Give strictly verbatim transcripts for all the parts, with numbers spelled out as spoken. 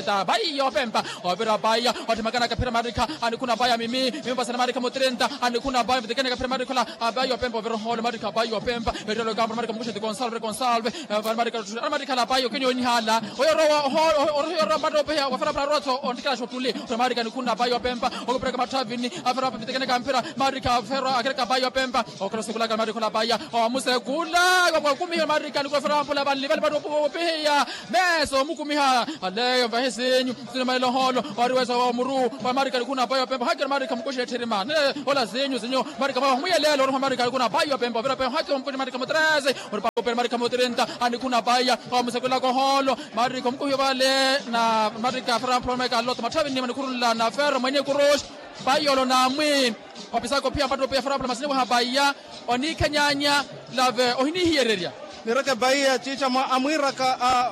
mukuxeta apayi yoopempa. Ovira apayi otthimaka nakaphira marikha anikhuna apayi amimi. Mimupasana marikha mutirenta anikhuna apayi mutikene kaphira marikha ola. Apayi yoopempa ovira ohoole marikha apayi yoopempa. Ettelo kampa marikha mukuxeti konsalve konsalve. Marikha otthu marikha ala apayi. Okenyonihala oyo orowa oho orohiya orowa mpatto opeheya wafera phara roto ontikela xotuli. Ora marika nikhuna bayi opempa okupereka mathavini afera pitekeneka mpira marika fero akereka bayi opempa. Okhala osekulaka marika ola bayi omusekula wakumiha marika nikula fera mpula vanlivali mpatto opeheya mesa omukumiha. Aleyo mvahisinyu sinimalela oholo wariwesa wa muru wa marika nikhuna bayi opempa haki ora marika mukuxi etthirima ne ola sinyu sinyu marika mwawa humuyelelo oroha marika nikhuna bayi opempa ovira peho haki omukuxi marika mutrese. Ori pakupe marika mutirinta anikhuna bayi omusekulaka oholo marika omukuhi ovale na marika fera mpula omeka loto matthavi nnima nikhurunla na fero mwenye kuruxi. Bayi olo namwi opisaka ophiya mpatto opiya fera mpula masini waha bayi. Oniikhenyanya lave ohinihiyererya. Nireke bayi ya ciicamo amwiiraka a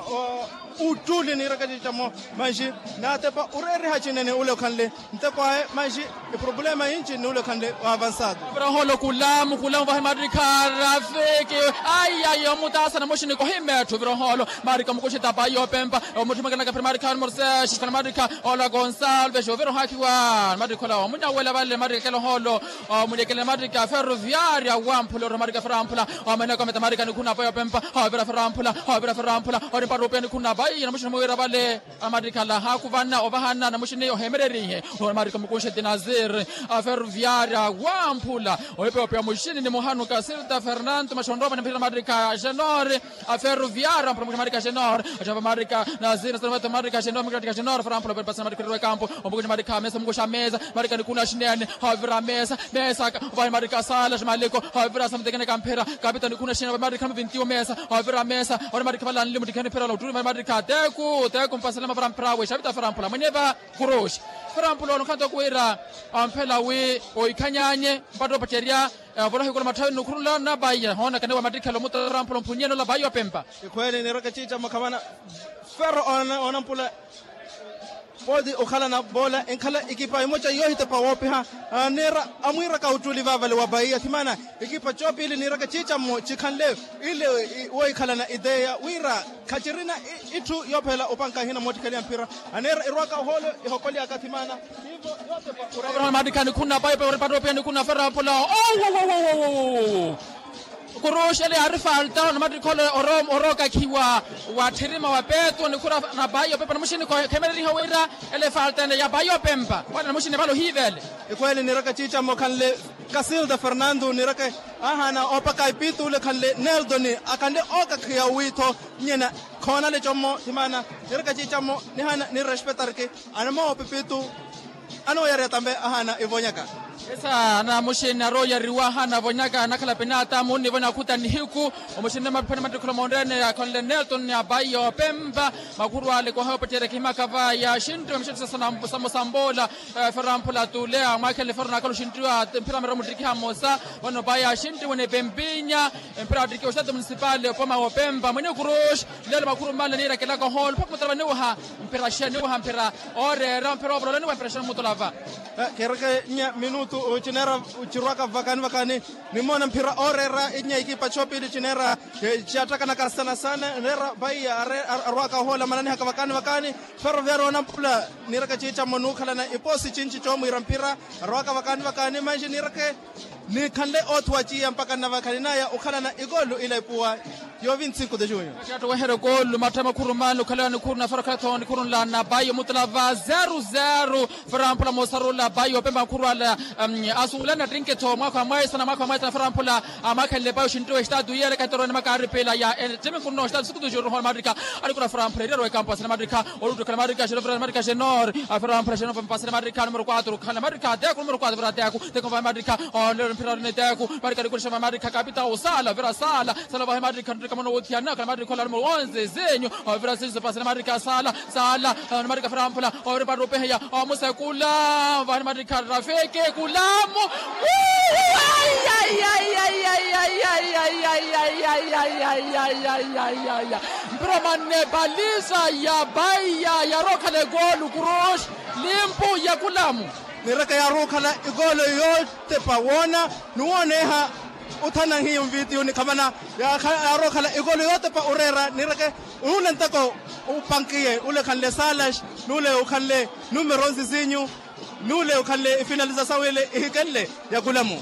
uttuli nireke ciicamo manxi natepa oreeriha cinene ule okhanle nteko aye manxi. Epurobulema yinci ni ule okhanle wa avansado. Viroholo kulamu kulamu vahi marikha rafiki. Ayi ayi omutaasa na muxini kohimetthu viroholo marikha mukuxita payi opempa. Omutthi mwekelaka phiri marikha numero seis khala marikha ola gonsalves ovirohakiwa marikha ola omunyawela vale marikha kela oholo. Omunyekele marikha ferroviaria wamphula ori marikha feramphula. Omeneka ometa marikha nikhuna payi opempa. Ovira feramphula ovira feramphula ori mpatto opiya nikhuna payi na muxini muwira vale. Amarikhala haakuvana ovahana na muxini ohemererihe. Omarikha mukunxe dinazir aferroviaria wamphula ohipeopia muxini ni muhanuka silta fernando maxonropa ni mphira marikha genor. Aferroviaria mphira mukunxe marikha genor. Axonropa marikha nazir nasaropa marikha genor marikha genor feramphula opasana marikha riro ekampo. Omukunxe marikha mesa mukunxe amesa marikha nikuna xinene. Havira mesa mesa ka ovahi marikha sala ximaliko. Havira samutekeneka mphira kapita nikuna xinene ovahi marikha muvintiwo mesa. Havira mesa ori marikha valanli mutikihani mphira ola utturi marikha teku teku mpasele mavara mphira awe xavita feramphula mwenye va kuruxi. Feramphula onokhanto kuwira amphela wi oikhanyanye mpatto opacerya. Volohi kula matthavi nukhurula na vaiya hoonakaniwa mattikhela omutala feramphula omphunnyeni ola vaiya opempa. Ikhweli nireke ciicamo khavana fero onampula. Pooti okhalana voola enkhala ekipa emoca yoohitepa woopiha. Niira amwiiraka uttuli vaavale wa vaiya khimana ekipa coopili niiraka ciicamo cikhanle ile. Wohikhalana ideya wira khacirina itthu yoophela opanka ehina moottikheliha mphira. Aneera erwaka ohoolo ehokolyaka khimana. Hivo yootepa. Mattikha nikhuna payi payi oripattopiya nikhuna fera pula. Kuruxele yaari falta namattikhole orookakhiwa watthirima wa petro nikhura na payi opepa namuxini khemereriha wira ele falta ene ya payi opempa. Wala namuxini vale ohiivele. Ekweli nireke ciicamo khanle kasilda fernando nireke ahana opaka ipitu ule khanle neldoni akhanle okakhiya witho nyena khonale commo thimana nireke ciicamo nihana nirespetarki. Anamoopipitu anooyariya tambe ahana ivonyaka. Esa namuxini arooyariwa ahana avonyaka anakhala pinata muunivona akhuta nihiku. Omuxini maphani mattikholo moonrene akhonle nelton apayi opempa. Makhuru ale koha opettereke himakava yaxinriwa mixetto samusamboola. Fera mphula tule amwakhele fera nakhala oxinriwa mphira mero muttikiha mmosa. Vano payi yaxinriwa ni pempinya mphira attikiwa estado municipal opoma wopempa mwene kuruxi. Lelo makhuru mmanle niirakelaka ohoolo mpakha mutala vaniwaha mphira xe niwaha mphira ooreera mphira oovolola niwaha mphira xe nimutolava. Kheereke nya minutu cineera cirwaka vakani vakani. Nimoona mphira ooreera inya ikipa coopili cineera ciyattakanaka sana sana neera vaiya arwaka ohoola mananihaka vakani vakani. Ferroviario onampula niireke ciicamo nuukhalana ipoosi cinci coomwiira mphira arwaka vakani vakani manji niireke. Nikhanle oothuwa ciya mpaka nnavakhaninaya okhalana ikoolu ila ipuwa. Yoovi ntsinku de junho. Attoweherya okoolu mattha makhuru mmaani okhalewa nikhuru na fera okhalewa nikhuru nla na payi omutula va zeru zeru. Fera mphula moosarula payi opempa makhuru ala asuulani attinke-tho mwaakha wa mwaisana mwaakha wa mwaisana fera mphula. Amwaakhenle payi oxinriwa exitaatu yiyereka etoroene makaari piila ya etiminkuno exitaatu sikutu xirurihona mattikha. Anikura fera mphula eriyari wekampu asina mattikha. Oluttukhala mattikha xenor fera mattikha xenor. Afera mphula xenor mpasele mattikha numero kuatru khala mattikha teku numero kuatru fera teku. Teku mvahe mattikha olelo mphira ni teku mattikha nikula xenor mattikha kapita osala fera sala. Sala vahe mattikha nttika mwana wothiyana khala mattikha ola numero onze zinyu. Ovira siso pasele marika sala sala. Marika fera mphula ovira patta opeheya omusekula. Vahani marika rafiki kulamu. Mpira manne balisa ya baiya yarookhala ekoolu kuruxi. Limpu ya kulamu. Niraka yarookhala ekoolo yootepa woona nuwooneha. Othana nhiyo mvitiyo nikhamana. Yarookhala ekoolo yootepa oreera nireke. Nuule nteko upankiye ule khanle salas nuule ukhanle numero nsisinyu. Nuule ukhanle ifinaliza sawile ihikenle yakulamu.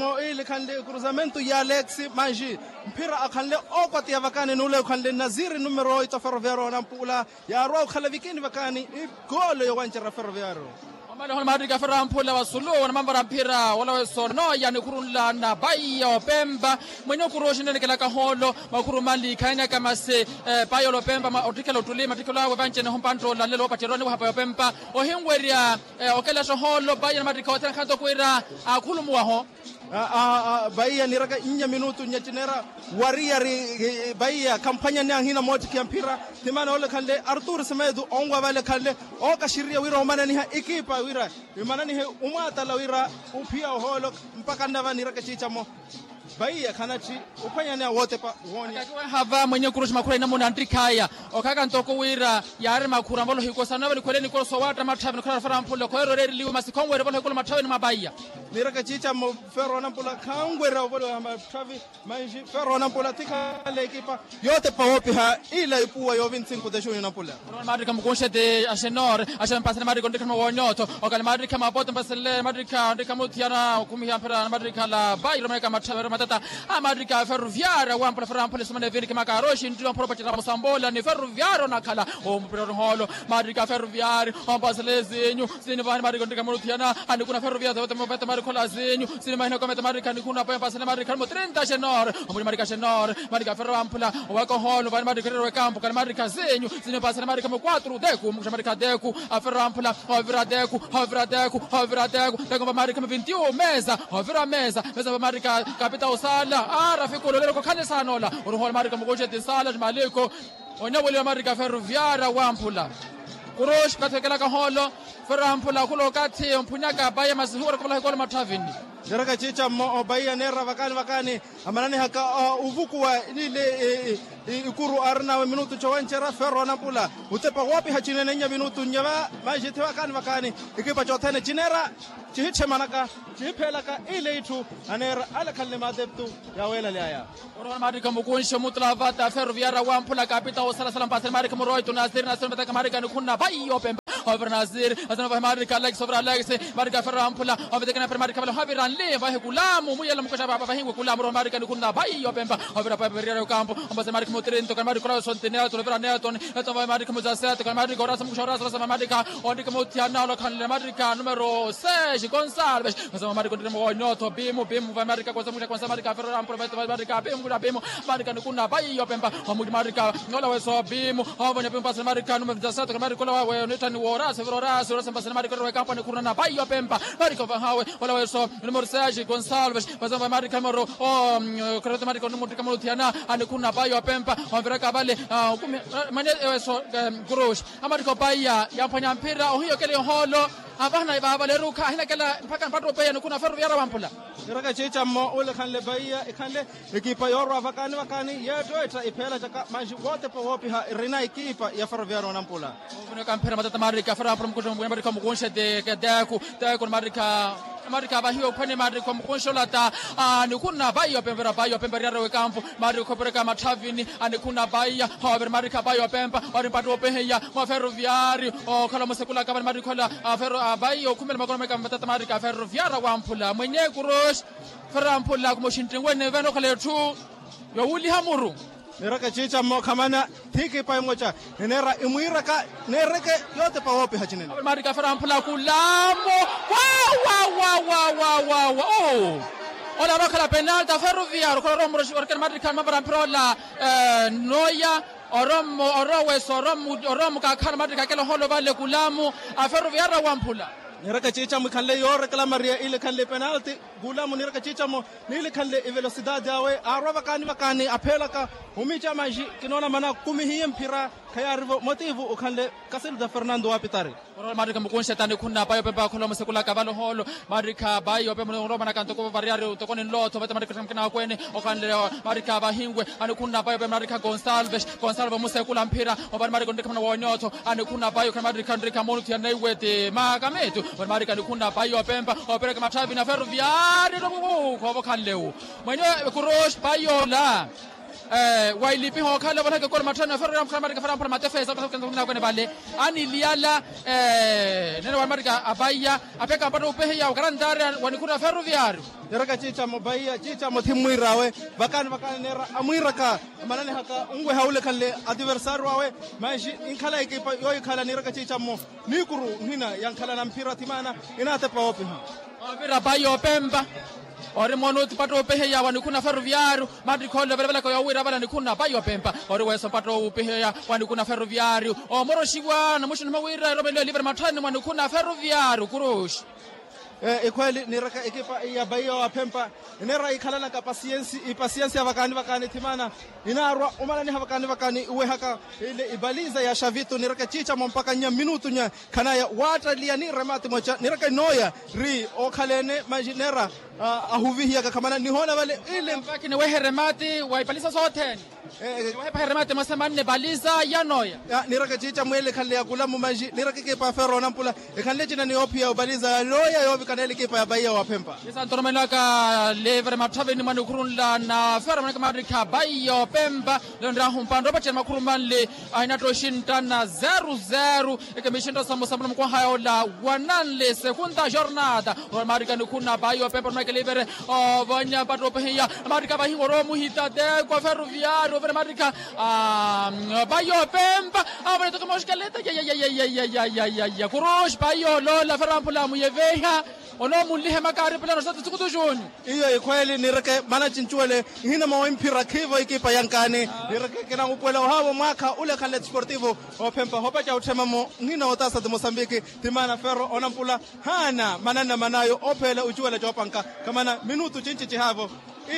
mwo ili khanle cruzamento ya alex manji mphira akhanle okwatiya vakani nuule ukhanle naziri numero oito ferroviario nampula yaarwa okhala vikini vakani igolo yowancerya ferroviario. Omale ohona maattikha ferroviario amphula vasulu na mampara mphira wala wesonoya nikhurunla na baiya opempa mwenye okuru oxinenekela kahoolo makhuru mali khayanaka masi. Baiya olopempa ottikhela ottuli mattikhelo awe vanci-ene ohompa nttola nlelo woopacerya oniwahapa yopempa ohinwerya okelaxa ohoolo baiya na mattikha othene akhanto okwira akhulumuwaho. Baiya niiraka nnya minutu nnya cineera wariyari baiya khamphwanyani ahina moottikhiya mphira. Thimana ole khanle artur semedo onwa vale khanle ookaxiriya wira omananiha ekipa wira imananihe omwaatala wira ophiya ohoolo mpaka nnava niiraka ciicamo. Vaiya khanatthi ophwanyani awotepa woonya. Hava mwenye kuruxi makhura inamuna nttikhaya okhaaka ntoko wira yaari makhura ambolo hikosa nave nikhwele nikolo sowaatta matthavi nikhwela rafara mphule khoyerereriliwe masi khonwerya valo hikolo matthavini mwa vaiya. Niiraka ciicamo ferro nampula khanwerya ovolowa matthavi. Manji ferro nampula tikhala ekipa yootepa woopiha ila ipuwa yoovintsi nkutexu ni nampula. Maattikha mukunxete axenor axempaasele maattikha ontikha numa woonyotho okale maattikha mapoto mpaselele maattikha ontikha muthiyana okhumiha mphira maattikha la bairo maeka matthavero matata. Amaattikha ferroviaria wampula ferro ampula esumana eviniki makaari oxintti wamphura opacela musamboola ni ferroviaria onakhala omupira orihoolo. Maattikha ferroviaria ompaselele sinyu sinyu vahani maattikha ontikha muthiyana anikuna ferroviaria Khola zinyu zinyu mahina kometa marikha nikhuna pwempasele marikha nimo trinta xenor. Omuli marikha xenor. Marikha ferro amphula. Owaka oholo vani marikha rero ekampo kali marikha zinyu zinyu pasele marikha mo quatro deku mukuxa marikha deku. Aferro amphula. Ovira deku. Ovira deku. Ovira deku. Deku va marikha mo vintiu mesa. Ovira mesa mesa va marikha. Kapita osala. Ara fikulu lelo kokhane sanola. Oruhola marikha mukuxeti sala maliko. Oneweliwa marikha ferroviara wamphula. Kuruxi kathi wekelaka oholo. Ferro amphula khula okathi omphunyaka apaya masi huwara kuvalaha ekolo mathavini. Niraka cica mmo opaiya neera vakaani vakaani amananihaka ovukuwa nile ikuru aarinawe minutu cowencerya ferro anampula. Utepa woopiha cinene nnya minutu nnya va manxi thi vakaani vakaani. Ikipa cothene cineera cihitthemanaka cihipheelaka ile itthu aneera alekhanle mateptu. Yaweelalyaya. Orowa marikha mukunxi omutula vata ferroviara wamphula kapita osalasala mpasele marikha muroito nasiri nasiri mvetaka marikha nikhunna vaiyo pempa. Ovira nasiri nasiri mvahe marikha alex ovira alex. Marikha ferro amphula ovetekena pera marikha vale ohavira nli mvahe kulamu muyela mukoxa vapa vahinwe kulamu orowa marikha nikhunna vaiyo pempa. Ovira papa veriyara okampo ompasele marikha mutirinto kani marikha olawe sontinelton ovira nelton. Nelton mvahe marikha muzaseto kani marikha orasa mukoxa orasa orasa mvahe marikha. Ondike muthiyana olokhanle marikha numero seis gonsalves. Kasa mamarika ondirimo wa onyootho pimu pimu vamarika kasa muxa kasa marika ferro rampura veto vamarika pimu kuxa pimu. Marika nikuna vaiyo pempa. Omuti marika ola weso pimu. Ovonya pimu pasa marika nume vitasato marika ola wawe onitthani worasi viro orasi orasi mpasa marika orero wekampani khurunana vaiyo pempa. Marika ovahawe ola weso numero seis gonsalves. Pasa vamarika moro o kreto marika onimuttika muluthiana. Anikhuna vaiyo pempa. Onviraka vale. Manye eweso kuruxi. Amarika opaiya yamphwanya mphira ohiyo kele yohoolo. Avahana vaavaleruka ahinakela mpakha mpattupe ya nikuna ferroviara wamphula. Niraka ciicammo ule ekhanle paiya ekhanle ekipa yoorwa vakaani vakaani yeetto etta ipheela caka manxi wootepa woopiha erina ekipa ya ferroviara onampula. Ovunika mphira matata marika ferroviara wamphula mukuxu mbuya marika mukunxe ti keteku. Teku ni marika marika avahiwe ophwene marika mukunxe olata. Nikuna paiya opempa erapaiya opempa eriyari wekampu. Marika okhopereka matthavini. Anikhuna paiya. Hoovira marika paiya opempa ori mpattupe hiya mwa ferroviari. Okhala musekulaka vani marikhola. Aferro avaiya okhumela makono meka matata marika ferroviara wamphula mwenye kuruxi. Ferro amphula kumuxinttinwene vene okhala etthu yowuliha muru. Niraka ciicammo khamana thikipa emoca. Nineera imwiiraka neereke yootepa woopiha cinene. Marika ferro amphula kulamo. Wawawawawawa. Ola orookhala penalta ferroviar okhala oromuroxi orikena marika mavara mphira ola. Noya oromo oroweso oromukakhana mattaka akela ohoolo vale kulamu. Aferoviara wamphula. Niraka ciicamo ikhanle yoorekela maria ile ikhanle penalti. Kulamu niraka ciicamo niile ikhanle ivelosidade awe aarwa vakaani vakaani apheelaka. Omiica manji kinoona mana kumihiye mphira. Khayaarivo motivu okhanle kasiluta fernando wapitari. Orola marika mukunxeta nikhunna paiyo pempa akhola omusekulaka vale ohoolo. Marikha paiyo pempa oromanaka ntoko variyari ntoko ninlootho vete marikha mukina akweene. Okhanle marikha vahinwe. Anikhunna paiyo pempa marikha gonsalves. Gonsalves omusekula mphira ovani marikha onrikhamana woonyootho. Anikhunna paiyo khana marikha onrikha moonuthiya neiwe ti makamitu. Ovani marikha anikhunna paiyo pempa opereka matthavi na ferroviari. Khoova okhanle wu mwenye kuruxi paiyo ola. Wailipiha okhala valaka ekolo matthani aferoviari amukhala marika farampula matefesa. Akwene vale aniliyala. Nene wali marika apaiya apeka mpatto upeheya okarantaria wanikhuna ferroviari. Niraka ciicamo paiya ciicamo thimmwiirawe. Vakaani vakaani neera amwiiraka amananihaka onweha ule ekhanle ativersario awe. Manji inkhala ekipa yoohikhala niraka ciicamo. Niikuru nhina yankhalana mphira thimaana inaatepa woopiha. Ovira paiya opempa ori moona utipatta opeheya wanikhuna ferroviario. Mattikhoole ovelevelaka yowiira vale anikhuna paiya opempa ori weso mpatta opeheya wanikhuna ferroviario. Omoroxiwa namuxinuma wira eromelo elivere matthani mwanikhuna ferroviario kuruxi. Ikhweeli niraka ekipa ya paiya wa phempa ineera ikhalanaka pasiyensi ipasiyensi ya vakaani vakaani thimaana. Inaarwa omalaniha vakaani vakaani iwehaka ile ipaliza ya xavitu niraka ciicamo mpaka nya minutu nya khanaya waattaliya ni remati mwaca niraka inooya ri okhaleene manji neera ahuvihiyaka khamana nihoona vale ile. Mpakha niwehe remati wa ipaliza sothene. Niwehepahe remati mwasemanne paliza ya nooya. Niraka ciicamo ele ekhanle ya kulamu manji niraka ekipa ya ferro nampula. Ekhanle cina ni yoophiya opaliza ya nooya yoovikana ele ekipa ya paiya wa phempa. Isanto oromelaka livre matthavini mwa nikhuru nla na fera mwanaka marikha paiya opempa. Lelo nrahu mpandre opacela makhuru manli. Ahinatta oxinttana zeru zeru. Ekemixintta samusambula mukwahaya ola wananli segunda jornada. Orowa marikha nikhuna paiya opempa oromelaka livre. Ovonya mpatta opehiya. Marikha vahiwa orowa muhita teko ferroviario ovira marikha. Paiya opempa. Avona toko moxikaleta. Kuruxi paiya olola fera amphula muyeveha. Onoomunliha emakaari pelano sata tsukutu junyu. Iyo ikhweeli nireke mana cincuwele. Nhina mowimphira khiivo ekipa yankaani. Nireke kinamupuwela ohaavo mwaakha ule khanle desportivo ophempa hopaca otthemamo nhina otaasa ti mosambiki. Ti maana ferro onampula haana mananna manaayo opheela ocuwela coopanka. Khamana minutu cinci cihaavo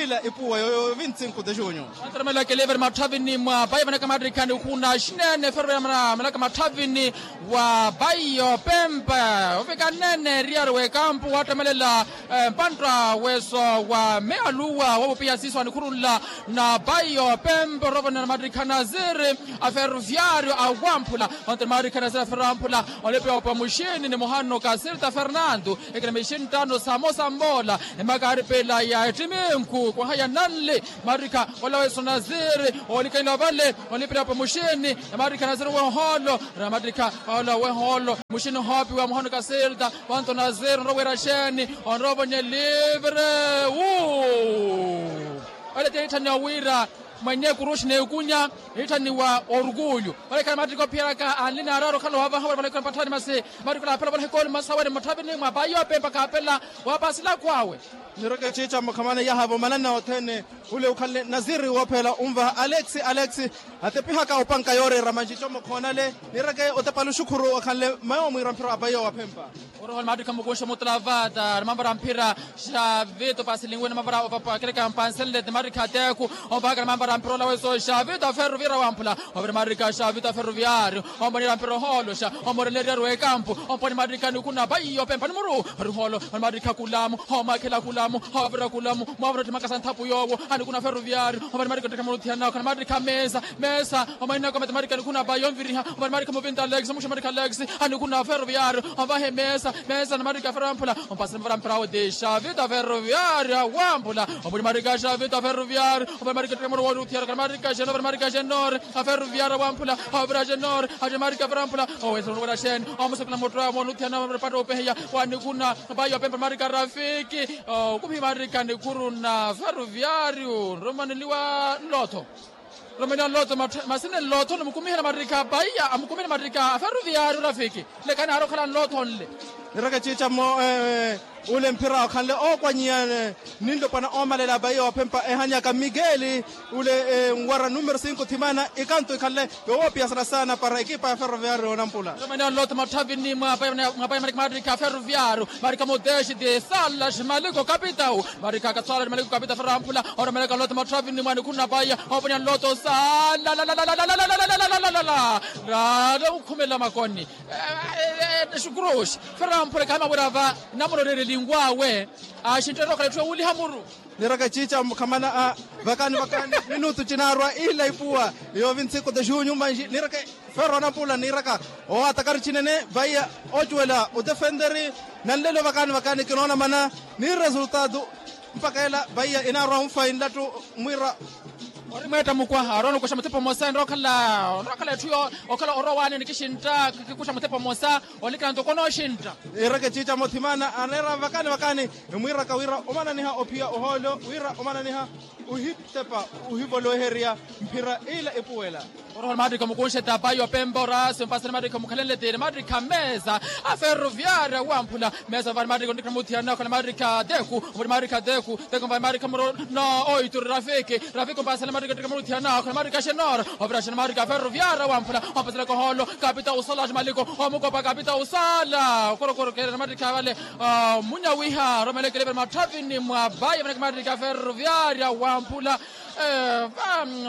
ila ipuwa yoyo vinti sinku de junyu. Antaromela kelevere matthavini mwa bayi vanaka mattikha nikhuna xinene ferro ya malaka matthavini wa bayi opempa ovika nene eriyari w'ekampu wattamelela mpantta weso wa mealuwa wovupiha siiso anikhurunla na bayi opempa orovonela mattikha naziri a ferroviario awamphula. Onte mattikha naziri a ferroamphula olipiwa pa muxini ni muhano kasirita fernando. Ekina mixini ttano samosa mmola emakaari pela ya ettiminku kwaha ya nanli. Mattikha ola weso naziri olikaniwa vale olipela pa muxini. Mattikha naziri wehoolo. Mattikha ola wehoolo muxini hoopiwa muhano kasirita. Vanto naziri onrowa wira xeeni? Onrowa vonye livre wu. Ole ti etthaniwa wira mwenye kuruxi n'ekunya. Etthaniwa orukulyu. Ole khana mattikha ophiyeraka anli naaraari okhala ovaha wala vale khana patthani masi. Mattikha olaphela vale hikooli masi awe ni mutthapini mwa bayi opempa kaapela. Waapasila akhwaawe. Nireke ciica mukhamana yahaavo mananna othene. Ule ukhanle naziri woophela unvaha alex alex. Atepihaka opanka yooreera manci comokhoonale. Nireke otepa luxukhuru okhanle mayo omwiira mphira abayo waphempa. Oroho ni mattikha mukunxe mutlavata ni mavara mphira. Xavito pasilinwe ni mavara opakereka mpansenle ti mattikha ateku. Ompahaka ni mavara mphira olaweso xavito aferuviara wamphula. Ovira mattikha xavito aferuviario. Ompanira mphira ohooloxa. Omoreleriaru ekampu. Ompani mattikha nikuna bayi opempa ni muru. Ori hoolo. Ori mattikha kulamu. Homakhela kulamu. Hovira kulamu. Mwavira ottimaka sa nthapu yoowo. Anikuna aferuviario. Ompani mattikha ottikha muruthiyanaka ni mattikha mesa. Mesa. Omahinaka ometemarika nikuna bayi omviriha. Omatemarika muvinta alex omuxemarika alex. Anikuna aferoviario. Ovahe mesa. Mesa namarika aferoviario. Ompasani mavara mphira awo ti xavito aferoviario awamphula. Omulimarika xavito aferoviario. Ovatemarika ttemoro wooruthiyaro kanamarika xenore. Ovatemarika xenore. Aferoviario awamphula. Ovira xenore. Atemarika aferoviario awamphula. Owesonono wira xene. Omusepela muttoya moonuthiyana patta opeheya. Wanikuna bayi opempa namarika rafiki. Okumihi marika nikhuru na aferoviario nromaneliwa nlotho. Romeliwa nlotho. Masine nlotho nimukumihela mattikha a bayi amukumihela mattikha a ferroviario rafiki. Lekani aari okhala nlotho nle. Nireke ciica mmo. Ule mphira okhanle ookwanyiya ninlopwana oomalela a bayi oophempa ehanyaka migeli. Ule nwara numero sinku thimana ikanto ikhanle yowoopiya sana sana para ekipa ya ferroviario onampula. Romeliwa nlotho matthavini mwa bayi marika mattikha a ferroviario. Marika mutexi ti sala ximaliko kapitau. Marika katswala ximaliko kapitau a ferroamphula. Oromelaka nlotho matthavini mwa nikhuru na bayi. Ooponiha nlotho sala. Raale okhumela makoni. Xukuruxi. Ferroamphula khaamawira va namurorerelinkwawe. Axintteerya okhala etthu yowuliha muru. Nireke ciica mukhamana a vakani vakani minutu cinaarwa ila ipuwa. Yoovi ntsiku de junyu manji nireke. Ferro anampula niiraka. Owatakari cinene vaiya ocuwela otefenteri. Nanlelo vakani vakani kinoona mana ni resultado. Mpaka ela vaiya inaarwa onfa inlattu mwira. Ori mweetta mukwa aroona okuxa mutepa omosa enrowa okhala etthu okhala orowa waani nikixintta kikuxa mutepa omosa. Olikana ntoko onooxintta. Iireke ciica mothimana aneera vakani vakani. Emwiiraka wira omananiha ophiya ohoolo wira omananiha ohitepa ohivolweherya mphira ila epuwela. Oroho ni mattikha mukunxetta payi opempa orasi ompasa ni mattikha mukhalenle ti ni mattikha mesa. A ferroviaria wamphula mesa vani mattikha ontikha muthiyana okhala mattikha teku. Omuri mattikha teku teku vani mattikha muro no oituri rafiki. Rafiki ompasa ni mattikha ontikha muthiyana okhala mattikha xenor. Ovira xenor mattikha a ferroviaria wamphula ompaselaka ohoolo kapita usala ximaliko. Omukopa kapita usala okorokoro kere ni mattikha vale. Munyawiha romele kelevere matthavini mwa bayi vanaka mattikha a ferroviaria wamphula.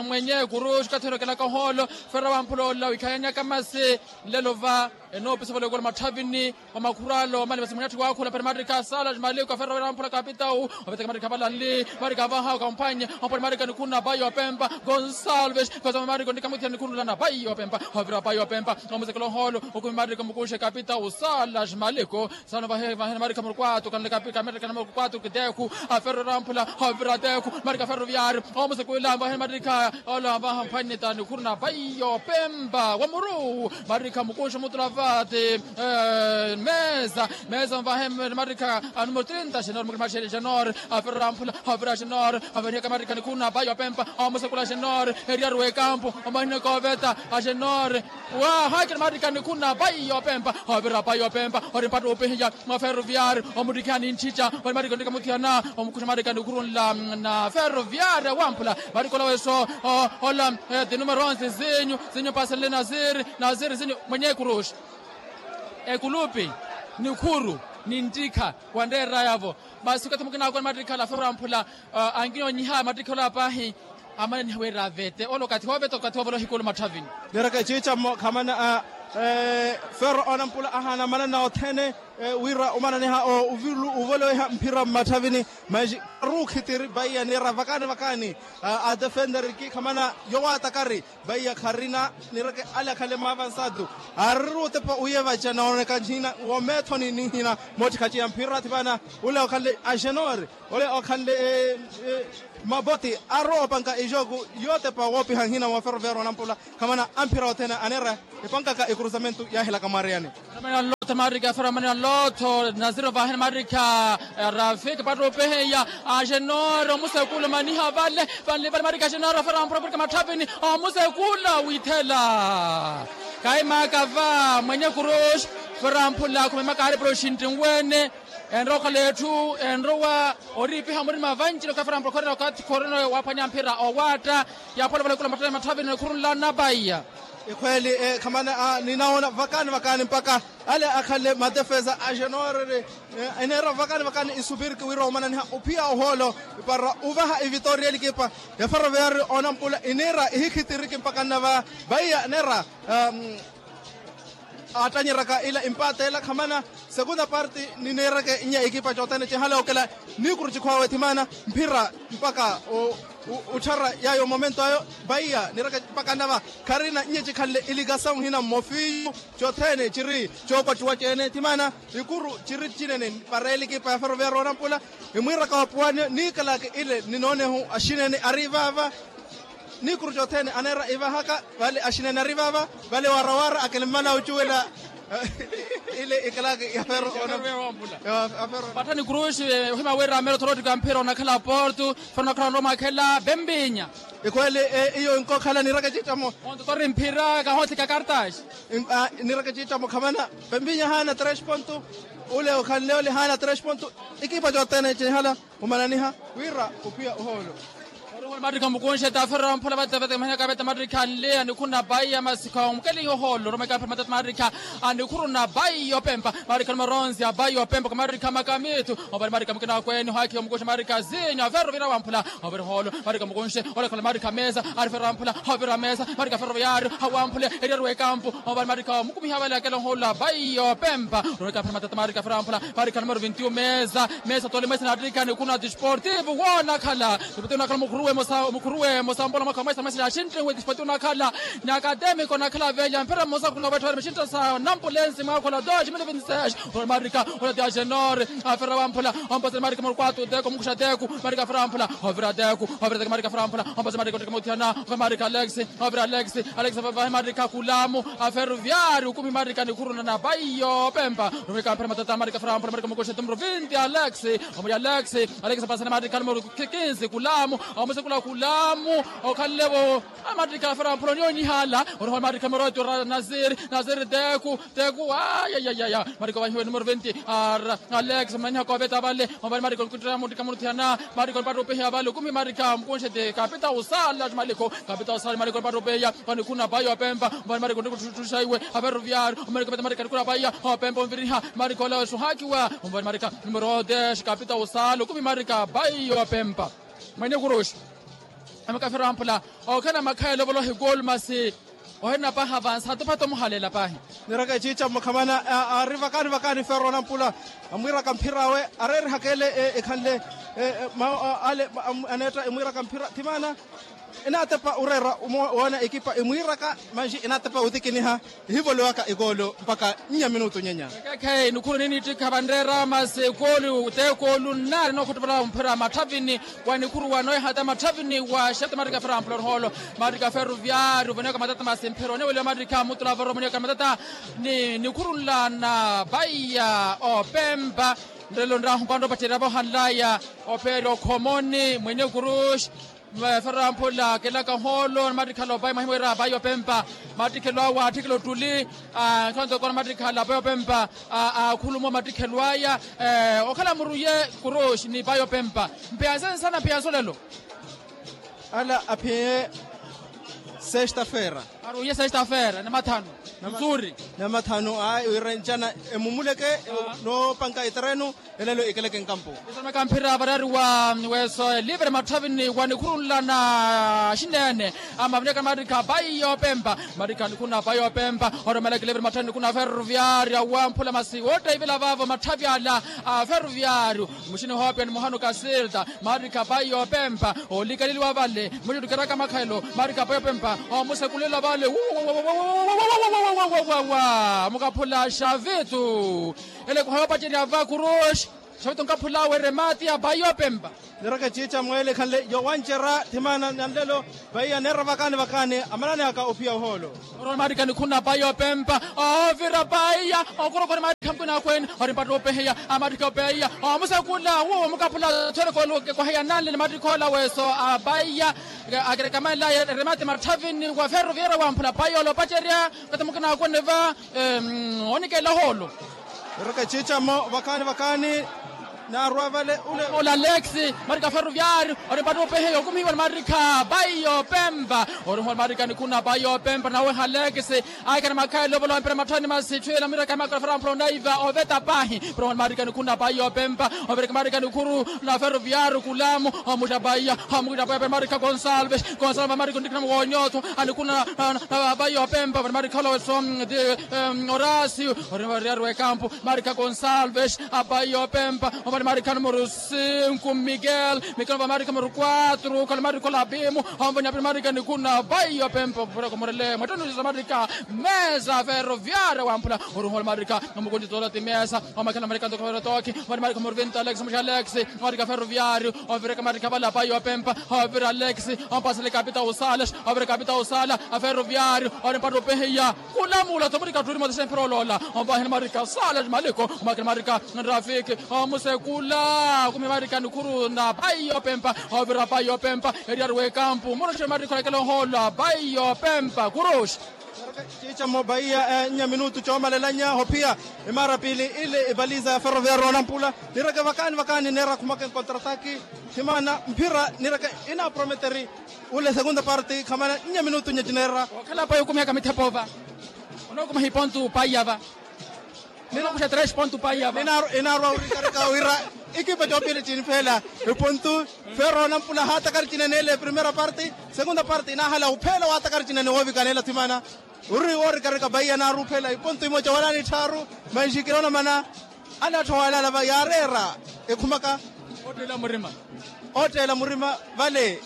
Mwenye kuruxi kathero kelaka ohoolo. Ferro wamphula ola wikhayanyaka masi nlelo va enoopisa vale okola matthavini wa makhuralo mani masi mwenyatthi waakhula pari mattikha sala maliko a ferro wamphula kapitau. Ovitaka mattikha valanli mattikha vaha okamphwanye. Omponi mattikha nikhuru na bayi opempa gonsalves. Kosoma mattikha ontikha muthiyana nikhuru na bayi opempa. Ovira bayi opempa omusekela ohoolo. Okumi mattikha mukunxe kapitau sala maliko. Sano vahe vahe namarikha murukwatu kanle kapika mereka na murukwatu kiteku. Aferro ramphula ovira teku marika ferroviario. Sekwila ambahe matikha, ola ambaha mphwanita nikhuru na paiyo pempa wa muru. Matikha mukunxu mutula vati. Mesa mesa ambahe matikha. Anumero trinta xenor mukiri maxele xenor. Aferera mphula. Aferera xenor. Aferihaka matikha nikhuru na paiyo pempa. Amusekula xenor. Eriyaru ekampu. Amahina koveta a xenor. Wa haki na matikha nikhuru na paiyo pempa. Avira paiyo pempa. Ori mpattu upihiya. Mwa ferroviario omuttikhiha nintthicca. Ori matikha ontteka muthiyana. Omukhuxa matikha nikhuru nla na ferroviario wamphula. Matikha ola weso. Ola. Ti numero onse zinyu. Zinyu pasenle naziri. Naziri zinyu mwenye kuruxi. Ekulupi. Nikhuru. Ninttikha. Wanreerayavo. Masi okathi mukina akoni mattikhala ferro amphula. Ankinonyiha mattikhala paahi. Amananiha wira avete ole okathi wooveta okathi woovela ohikulu matthavini. Nireke ciicammo khamana a ferro onampula ahaana amanana othene. Wira omananiha ovoloweha mphira mmatthavini. Manji arukhitiri paiya nira vakaani vakaani. Adefenderiki khamana yowaatakari. Paiya kharina nireke ale akhale maavansatu. Ariri otepa uyevaca nooneka nhina womeethoni ninhina. Moottikha ciya mphira athipaana. Ole okhanle axenori. Ole okhanle maboti aroopanka ixoku. Yootepa woopiha nhina wa ferroviario onampula. Khamana amphira othene aneera epankaka ekrusamentu yaahilaka mwariyani. Manani alootho maarikha ferro manani alootho. Naziri ovaheni maarikha. Rafiki patta opeheya. Axenori omusekula omaniha vale. Vanli vale maarikha axenori ferro amphula khurikha matthavini. Omusekula withela. Kaimaka va mwenye kuruxi. Ferro amphula khumemaka ari proxinti nweene. Enrowa okhala etthu enrowa oriipiha murima vancile okathi ferro amphula khorina okathi khorina waaphwanya mphira owaatta. Yaaphola valekula matthavini khurunla na paiya. Ikhweeli khamana ninawoona vakaani vakaani mpakha ale akhanle matefesa a xenoorere. Eneera vakaani vakaani isupiriki wira omananiha ophiya ohoolo para ovaha ivitooriya elikipa ya ferroviario onampula iniira ihikhitiriki mpakha nnava. Paiya neera aattanyeraka ila impaate ela khamana. Segunda parte nineereke nnye ekipa cothene cinhale okela. Niikuru cikhwaawe thimaana mphira mpakha otthara yaayo momento ayo. Paiya niireke mpakha nnava kharina nnye cikhanle ilikasawu nhina mmofiyu. Cothene ciri coopattuwa ceene thimaana. Ikuru ciri cinene para elikipa ya ferroviario onampula. Imwiiraka opuwani niikalaka ile ninoonehu axinene ari vaava. Niikuru cothene aneera ivahaka vale axinene ari vaava. Vale warawara akilmala ocuwela ile ikalaka ya ferro. Pattani kruxi ohima wira merothorootika mphira onakhala porto. Fana onakhala onroma akhela pempinya. Ikhweeli iyo inkokhala niireke ciittamo. Ontotori mphira kahoothika kartaxi. Niireke ciittamo khamana. Pempinya haana tres ponto. Ole okhanle ole haana tres ponto. Ikipa cothene cinhala omananiha wira ophiya ohoolo. Orihula maarikha mukunxe taferera mphula vatavete mahina kavete maarikha nleya nikhuru na paiya masikha omukeliha ohoolo romeka mphula matatu maarikha. Anikhuru na paiya opempa maarikha numero onze a paiya opempa kamaarikha makamitu. Ovale maarikha mukina akweene ohaakiha omukunxe maarikha zinyu aferero vira wamphula. Ovale ohoolo maarikha mukunxe. Olekhala maarikha mesa. Ari ferero wamphula. Ovira mesa maarikha ferero viyaario awamphule. Eriyaru ekampu. Ovale maarikha mukumiha vale akela ohoolo a paiya opempa. Romeka mphula matatu maarikha ferero wamphula. Maarikha numero vinti mesa. Mesa tole mesa naattikha nikhuru na desportivo woonakhala. Desportivo nakhala mukhuruwe mukhuruwe mosambola mwakha mesa mesa yaxintte we desportivo nakhala. Ni akademiko nakhala velya mphira mmosa khuna wettha wari maxintta sa nampulensi mwakhola dos mil vinti seis. Ole maarikha ole ti axenori. Aferera wamphula. Ompasela maarikha murukwaatu teku mukuxa teku. Maarikha aferera wamphula. Ovira teku. Ovira teku maarikha aferera wamphula. Ompasela maarikha otteka muthiyana. Ove maarikha alex. Ovira alex. Alex avahe maarikha kulamu. Aferero viyari ukumi maarikha nikhuru na paiya opempa. Romeka mphira matatu maarikha aferera wamphula maarikha mukuxa teku numero vinti alex. Omuli alex. Alex apasana maarikha numero kinsi kulamu. Amusekula kulamu. Okhanlevo. Maarikha aferero wamphula onyoonyihala. Oroha maarikha numero otu naziri. Naziri teku. Teku ayayayaya. Maarikha ovahiwe numero vinti. Alex mananiha kooveta vale. Ovale maarikha onikuttira mutteka muthiyana. Maarikha onipatta opeheya vale ukumi maarikha mukunxe ti kapita usala maarikha. Kapita usala maarikha onipatta opeheya. Vanikhuru na paiya opempa. Ovale maarikha onikuttuttuxa iwe aferero viyari. Omaarikha opeta maarikha nikhuru na paiya opempa onviriha. Maarikha ole weso ohaakiwa. Ovale maarikha numero des kapita usala ukumi maarikha paiya opempa. Mwenye kuruxi. Amaka ferro amphula. Okhana makhayelo ovolohi gol masi. Ohena paha avansa hatupata omuhaleela pahi. Niraka eciica mukhamana. Ari vakaani vakaani ferro nampula. Amwiraka mphira awe areerihaka ele ekhanle. Mawu ale aneetta emwiiraka mphira thimaana. Enaatepa oreera omoona ekipa emwiiraka manji enaatepa otikiniha. Ehivolowaka ekoolo mpakha nnya minutu nyenya. Ekeekhayi nikhuru ninittikha vanreera masi ekoolo t'ekoolo nnaari nookhottopela mphira matthavini wa nikhuru wa noohata matthavini wa xeto mattikha feera mphula oruhoolo mattikha feruviari ovonewaka matata masi mphira oneweliwa mattikha mutula varo ovonewaka matata. Ni nikhuru nla na paiya opempa nrelo nrahu mpando opacerya voohanlaya opeerya okhomoni mwenye kuruxi. Feramphula kelaka ohoolo ni mattikhala opayi mwahimu wira apayi opempa. Mattikhelo awe atthikela ottuli. Nthonto kona mattikhala apayi opempa akhuluma omattikhelo aya. Okhala muruye kuruxi ni payi opempa mpiyanse nsana mpiyanse olelo. Ala aphiye sexta-feira. Aruye sexta-feira namathanu. Nzuri. Namathanu ayi wira ncana emumuleke noopanka eterenu. Elelo ikeleke nkampu. Isamaka mphira varari wa weso livre matthavini wa nikhurunla na xineene. Ama vineka mattikha payi yopempa mattikha nikhuna payi yopempa. Oromeleke livre matthavini nikhuna ferroviario wamphula masi wootteyivela vaavo matthavi ala a ferroviario. Muxini hoopiya ni muhanu kasilta. Maarikha payi yopempa olikaliliwa vale. Muxuttukeraka makhelo maarikha payi yopempa. Omusekulela vale. Mukaphula xavitu. Ele kuhayopacerya va kuruxi. Xavitu nkaphula weremati ya payi yopempa. Niraka ciica mweele khanle yowancerya thimana nanlelo. Paiya neera vakaani vakaani amanani aka ophiya ohoolo. Oromaarikha nikhuna payi yopempa. Ovira paiya okurokori maarikha mukina akweene. Ori mpattu opeheya amaarikha opeiya omusakula wuwo mukaphula thwerekoolo kekwaheya nanle ni maarikha ola weso a paiya. Akerekamaela remati matthavini wa ferroviera wamphula paiya ola opacerya. Kata mukina akweene va onikela ohoolo. Eraka ciicamo vakaani vakaani. Naarwa vale ule ola alex. Marika ferroviario ori mpattu opeheya okumihiwa ni marika payi yopempa. Ori ohoolo marika nikhuna payi yopempa nawe halex. Aikana makhaelo ovolowa mpira matthani masi tthwila miraka makala fera mpula onaiva oveta pahi. Ori ohoolo marika nikhuna payi yopempa. Overeka marika nikhuru na ferroviario kulamu. Omuttha paiya omukittha paiya pera marika gonsalves. Gonsalves marika ontikhina muwonyotho anikhuna payi yopempa ovani marika olaweso. Orasio ori variari wekampu. Marika gonsalves apayi yopempa. Ovani marika numero sinku miguel miguel ova marika numero kuatru kala marika olapimu. Omvani apiri marika nikhuna payi yopempa ovureko murele mwettonusiso marika. Mesa ferroviaria wamphula ori ohoolo marika. Omukuntitola ti mesa omakhela marika ntoko ferotokhi. Ovani marika numero vinto alex muxa alex. Marika ferroviario ovireka marika vale apayi yopempa. Ovira alex ompasele kapita usales. Ovira kapita usala aferroviario ori mpattu opehiya. Kulamula tomurika turi motise mpira oloola. Ompaheni marika sala maliko omakini marika nrafiki. Omusekula kumi marika nikhuru na payi yopempa. Ovira payi yopempa. Eriyari wekampu muruxi marika olekela ohoolo a payi yopempa kuruxi. Ciicamo paiya nnya minutu coomalelanya hophiya. Imaara piili ile ipaliza ya ferroviario onampula. Nireke vakaani vakaani neera khumaka enkontrataki. Thimana mphira nireke inaaprometeri. Ule segunda parte khamana nnya minutu nnya cineera. Okhala payi okumihaka mithepo va. Onookumiha ipontu payi yava. Onookuxa tres pontu payi yava. Inaarwa wirikarika wira ekipa coopili cinipheela. Ipontu ferro nampula haatakari cinene ele primera parte. Segunda parte inaahala upheela waatakari cinene woovikana ela thimana. Uri woorikarika payi yanaarwa upheela ipontu imoca wala nitthaaru. Manxi kinoona mana. Anaatthowalala va yaareera ekhumaka. Ootteela murima. Ootteela murima vale.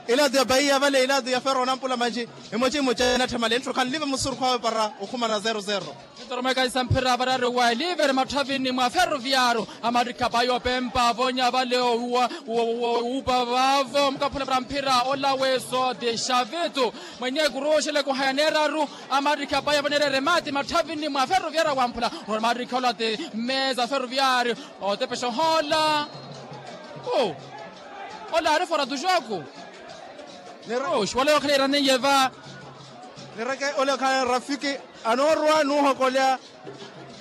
Ilaatu ya paiya vale ilaatu ya ferro nampula manji. Emoci emoci anatthemale ntthu khanlive musurukhu awe para okhumana zero zero. Nitoromeka isamphira varari wa eliveri matthavini mwa ferroviario. Amarikha payi opempa avonya vale owupa vavo mukaphula para mphira ola weso de xavitu. Mwenye kuruxele kuhaya neeraru. Amarikha payi avonya erere mati matthavini mwa ferroviario wamphula. Ola marikha ola ti mesa ferroviario. Otepexa ohoola. Ola ari fora tu joku. Neroxi wala yookhala iraneiye va. Nireke ole okhala rafiki anoorwa nuuhokolya.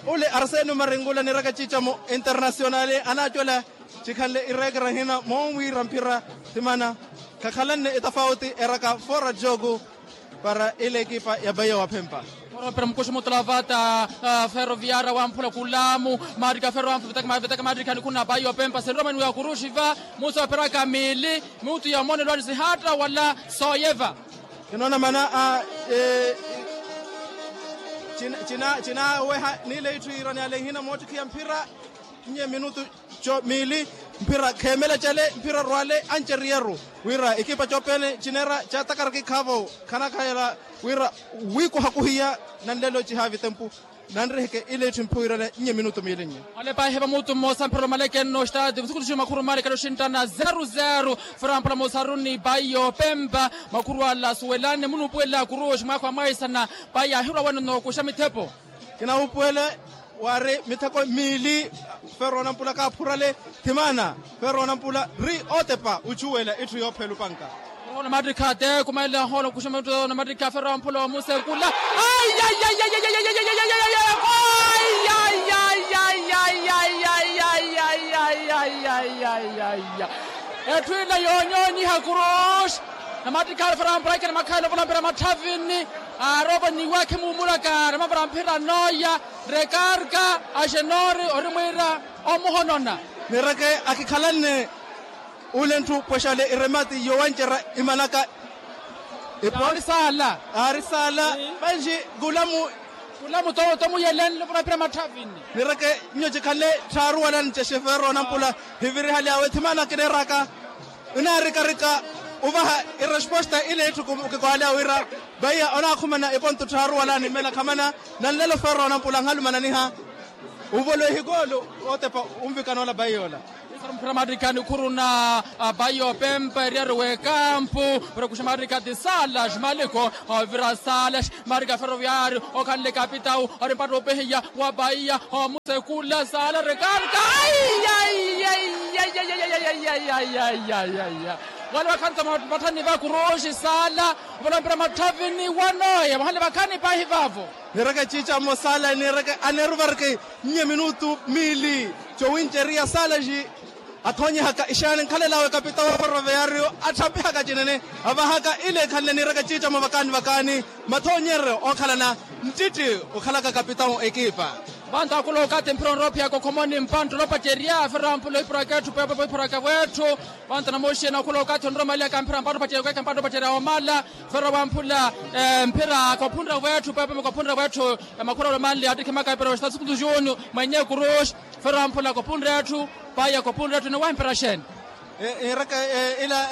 Ole arsenio maringula nireke ciicamo internasionali anaacwela. Cikhanle ireekera hina moomwiira mphira. Thimana khakhalanne etafauti eraka fora joku. Para ile ekipa ya paiya waphempa. Oroopera mukuxu mutula vata ferroviara wamphula kulamu. Maarika ferro wamphula vetaka maarika nikhuna paiya opempa senromani wa kuruxi va. Musi operaka miili. Mutu ya omonelwani sihaatta wala sooyeva. Kinoona mana a cinaweha niile itthu iirani ale ihina moottikhiya mphira. Nnye minutu co miili. Mphira kheemela cale mphira rwale anceriyerru wira ekipa coopene cineera caatakaraka ikhaavo khanakhayela wira wiikuhakuhiya nanlelo cihaavi tempu nanriheke ile itthu mphiwirana nnye minutu miili nnye. Alepa ehepa muutu mmosa mphira omaleke nno ostaati vusukutuxi makhuru mali kali oxinttana zeru zeru. Fera mpula mosaru ni bayi yoopempa makhuru ala suwelani munuupuwela kuruxi mwaakha wa mwaisana. Bayi ahirwa wene onookuxa mithepo. Kinawuupuwela waari mitheko miili. Fera onampula kaaphurale thimaana. Fera onampula ri ootepa uchuwela itthu yoopheela opanka. Namattikha te kumaile ahoolo kuxuma mitto namattikha ferwa mphula omusekula. Etthu ila yoonyoonyiha kuruxi. Namattikha ferwa mphula ekene makhaile ovula mphira matthavini. Arovo niwakhe muumulaka namavara mphira nooya. Rekarka axenori ori mwiira omuhonona. Nireke akikhalanne ule ntthu pwexale iremati yowancerya imanaka. Aari saala. Aari saala. Manji kulamu. Kulamu tomuyelenle vura pira matthavini. Nireke nyo cikhanle tthaaruwalani cexefeero nampula. Hivirihaly'awe thimaana kineeraka inaarikarika ovaha iresposta ile itthu kikohalya wira. Baiya onaakhumana eponto tthaaruwalani mmela khamana. Nanlelo feero nampula nhalumananiha. Ovolowe hikoolo. Ootepa onvikana ola baiya ola. Mphira mattikha nikhuruna. Baiya opempa eriyari w'ekampu. Vira kuxa mattikha ti saala ximaliko. Ovira saala ximaliko ya feroviari okhanle kapitau. Ori mpatta opehiya wa baiya omusekula saala rekarka. Wale vakhanisa matthani vakuruxi saala. Ovolompira matthavini wanooya vahale vakhani pahi vaavo. Nireke ciicamo saala nireke aneeruvareke nnye minutu miili. Cowinceriya saala xi athoonyehaka ixaani nkhalel'awe kapitau wa ferroviario. Atthapihaka cinene avahaka ile ekhanle nireke ciicamo vakaani vakaani. Mathoonyeryo ookhalana nttitti okhalaka kapitau ekipa. Vantu akhula okathi mphira onrowa ophiyaka okhomoni mpantta olopacerya ferwa mphula ohipuraka etthu peepo ohipuraka vw'etthu. Vantu namuxina akhula okathi onrowa omaliyaka mphira mpantta opacerya okweeka mpantta opacerya omala. Ferwa mphula mphira kophunre vw'etthu peepo kophunre vw'etthu. Makhura olomanle attikhimaka epira oxita sukutu junior mwenye kuruxi. Ferwa mphula kophunre etthu. Paiya kophunre etthu enowaha mpira xeeni? Nireke ila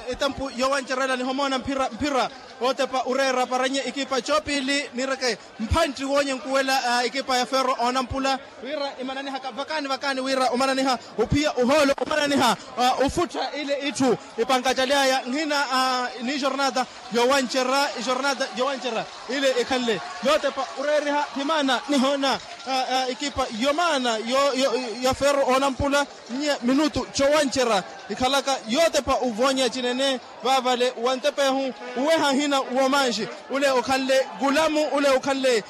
etempu yowancerela nihomoona mphira mphira. Ootepa oreera paranye ekipa coopili nireke mphantti woonye nkuwela ekipa ya ferro oonampula wira imananihaka vakaani vakaani wira omananiha ophiya ohoolo omananiha. Ofutta ile itthu ipankacaly'aya nhina ni jornada yowancerya ijornada yowancerya ile ikhanle yootepa oreeriha thimaana nihoona ekipa yomaana ya ferro oonampula. Nnye minutu cowancerya ikhalaka yootepa ovoonya cinene. Vaavale wa ntepehu oweha nhina woomanxi ule okhanle kulamu ule okhanle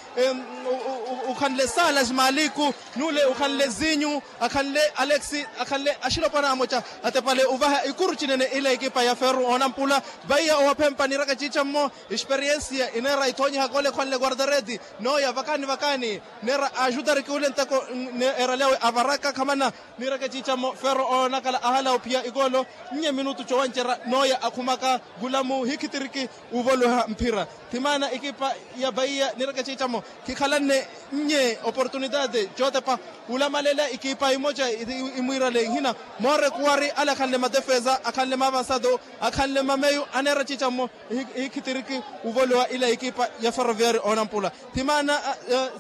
okhanle saala ximaliku n'ule okhanle zinyu akhanle alexi akhanle axilopwana amoca atepale ovaha ikuru cinene ila ekipa ya ferro oonampula. Vaiya owaphempa niraka ciicammo experiensia ineera ithoonyihaka ole ekhwanle guardareti nooya vakaani vakaani. Neera axutariki ule nteko eeralyawe avaraka khamana. Nireke ciicammo ferro oonakala ahala ophiya ikoolo nnye minutu cowancerya nooya akhumaka kulamu hikhitiriki. Ovoloha mphira thimaana ekipa ya vaiya nireke ciicammo khikhalanne nnye oportunitati cootepa. Olamalela ekipa emoca imwiirale nhina moorekuwari ale akhanle madefesa akhanle maavansado akhanle mameyu aneera ciicammo. Hikhitiriki ovolowa ila ekipa ya ferroviari oonampula thimaana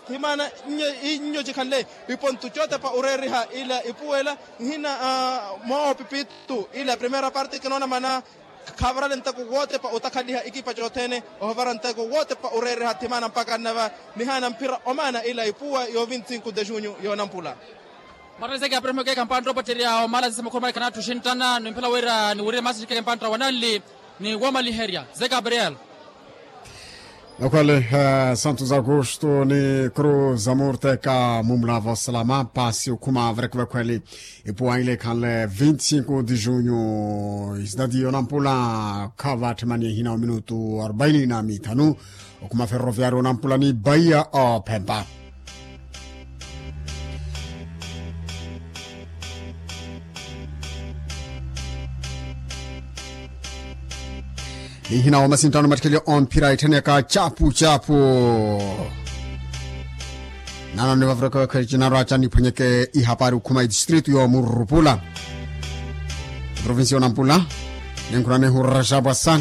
thimaana nnyo cikhanle ipontu cootepa oreeriha ila ipuwela nhina moopipitu ila primeira parte kinoona mana. Khavarale nteko wootepa otakhaliha ekipa cothene ohovara nteko wootepa oreeriha thimaana mpaka nnava nihaana mphira omaana ila ipuwa yo vinti sinku de junyu yoonampula. Martha zeke aperehimeke kampantta opatterya omala sisa makhurumali khanatthi oxinttana nimphela wira niwirire masi xikeke mpantta wananli ni woomaliherya ze gabriel. Nakhwele santos augusto ni cruz amurteka mumulava osalama pasi okhuma varekivakhweli. Ipuwa ile ikhanle vinti sinku de junyu isidadi yonampula khavatthe mani ehina wa minutu arubaini na mithanu. Okhuma ferroviari onampula ni baiya ophempa. Nihina wa masinttano mattikhelya omphira itthanyaka capu capu. Nano nivavireke wekhwe cinarwa canniphwanyeke ihapari okhuma itistritu yoomurupula. provincia onampula. Ninkhulani ehurura xaapwa sani.